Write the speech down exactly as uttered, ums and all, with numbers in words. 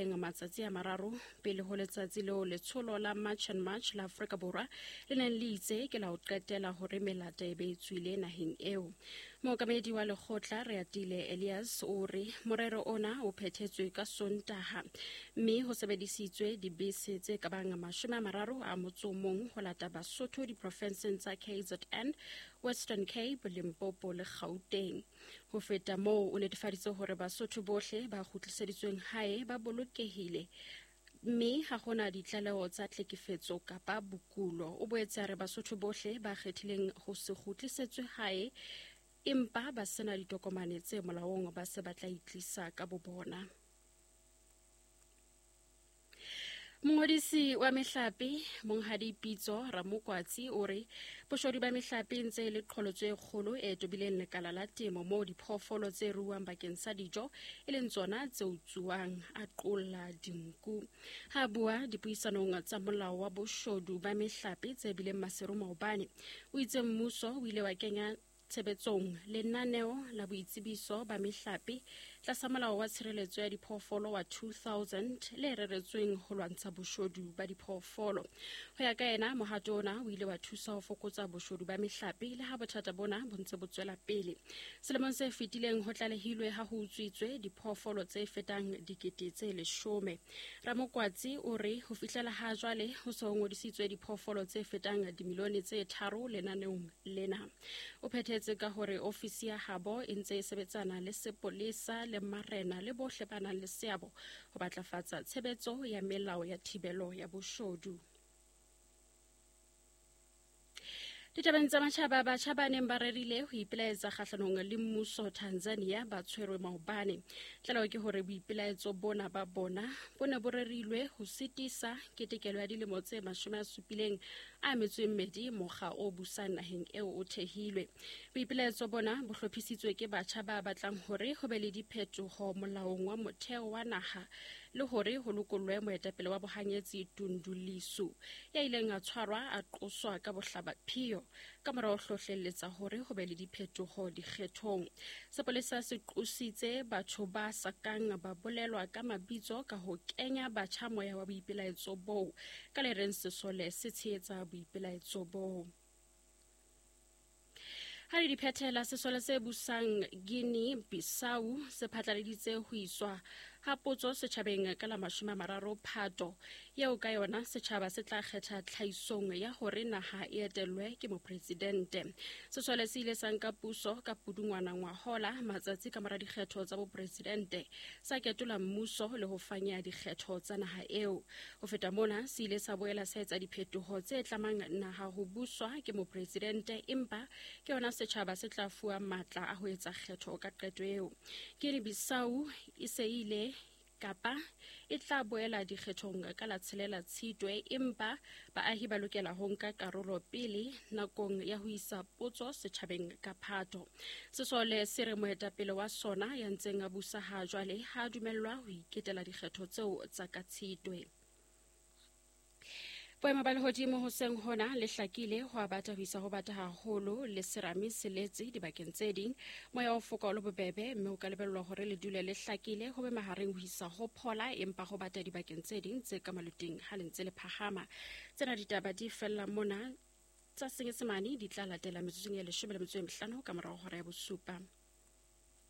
Matsatsi a mararo pele ho letsatsi leo letsholo la March and March la Afrika Borwa le neng le itse ke la ho qetela hore melata e be e tswile naheng eo. Mookamedi wa lekgotla Reatile Elias o re morero ona o phethetswe ka Sontaha mme ho sebedisitswe dibese tse ka bang mashome a mararo a motso o mong ho lata Basotho diprofenseng tsa K Z N, Western Cape, Limpopo le Gauteng. Ho feta moo o netefaditse hore Basotho bohle ba kgutliseditsweng hae ba bolokehile mme ha hona ditlaleho tsa tlhekefetso kapa bokulo. O boetse a re Basotho bohle ba kgethileng ho se kgutlisetswe hae empa ba sena ditokomane tse molaong ba se ba tla itlisa ka bobona. Mongodisi wa mehlape Monghadi Pitso Ramokwatsi o re boshodu ba mehlape ntse e le qholotso e kgolo e tobileng lekala la temo moo diphoofolo tse ruuwang bakeng sa dijo e leng tsona tse utsuwang, a qolla dinku. Ha bua dipuisanong tsa molao wa boshodu ba mehlape tse bileng Maseru maobane, o itse mmuso o ile wa kenya tshebetsong lenaneo la boitsebiso ba mehlape tlasa molao wa tshireletso ya diphoofolo wa two thousand le reretsweng ho lwantsha boshodu ba diphoofolo. Ho ya ka yena, mohato ona o ile wa thusa ho fokotsa boshodu ba mehlape le ha bothata bona bo ntse bo tswela pele. Selemong se fetileng ho tlalehilwe ha ho utswitswe diphoofolo tse fetang dikete tse leshome. Ramokwatsi o re ho fihlela ha jwale ho se ho ngodisitswe diphoofolo tse fetang dimilione tse tharo lenaneong lena. O phethetse ka hore ofisi ya habo e ntse e sebetsana le sepolesa le marena le bohle ba nang le seabo ho batlafatsa tshebetso ya melao ya thibelo ya boshodu. Ditabeng tsa matjhaba, batjha ba neng ba rerile ho ipelaetsa kgahlanong le mmuso Tanzania ba tshwerwe maobane. Tlaleho ke hore boipelaetso bona ba bona bo ne bo rerilwe ho sitisa ketekelo ya dilemo tse mashome a supileng a metso e mmedi mokga o busang naheng eo o thehilwe. Boipelaetso bona bo hlophisitswe ke batjha ba batlang hore ho be le diphetoho molaong wa motheo wa naha le hore ho lokollwe moetapele wa bohanyetsi Tundu Lissu ya ileng a tshwarwa a qoswa ka bohlabaphiyo ka mora ho hlohlelletsa hore ho be le diphetoho dikgethong. Sepolesa se qositse batho ba sa kang ba bolelwa ka mabitso ka ho kenya batjha moya wa boipelaetso boo ka le reng sesole se tshehetsa boipelaetso boo. Ha le diphethela, sesole se busang Guinea Bissau se phatlaladitse ho iswa ha potso setjhabeng ka la mashome a mararo Phato eo ka yona setjhaba se tla kgetha tlhahisong ya hore naha e etellwe ke mopresidente. Sesole se ile sa nka puso ka Pudungwana ngwahola matsatsi ka mora dikgetho tsa bopresidente, sa ketola mmuso le ho fanya dikgetho tsa naha eo. Ho feta mona, se ile sa boela sa etsa diphetoho tse tlamang naha ho buswa ke mopresidente, empa ke yona setjhaba se tla fuwa matla a ho etsa kgetho ka qeto eo. Guinea Bissau e se ile kapa e tla boela dikgethong ka la tshelela Tshitwe, empa baahi ba lokela ho nka karolo pele nakong ya ho isa potso setjhabeng ka Phato. Sesole se re moetapele wa sona ya ntseng a busa ha jwale ha dumellwa ho iketela dikgetho tseo tsa ka Tshitwe. Boemo ba lehodimo hoseng hona le hlakile ho a bata ho isa ho bata haholo le serame se letse dibakeng tse ding. Moya o foka o le bobebe mme o ka lebellwa hore le dule le hlakile ho be mahareng ho isa ho phola empa ho bata dibakeng tse ding tse ka maluting ha le ntse le phahama. Tsena ditaba di fella mona tsa Senyesemane di tla latela metsotsong ya leshome le metso e mehlano ka morao hora ya bosupa.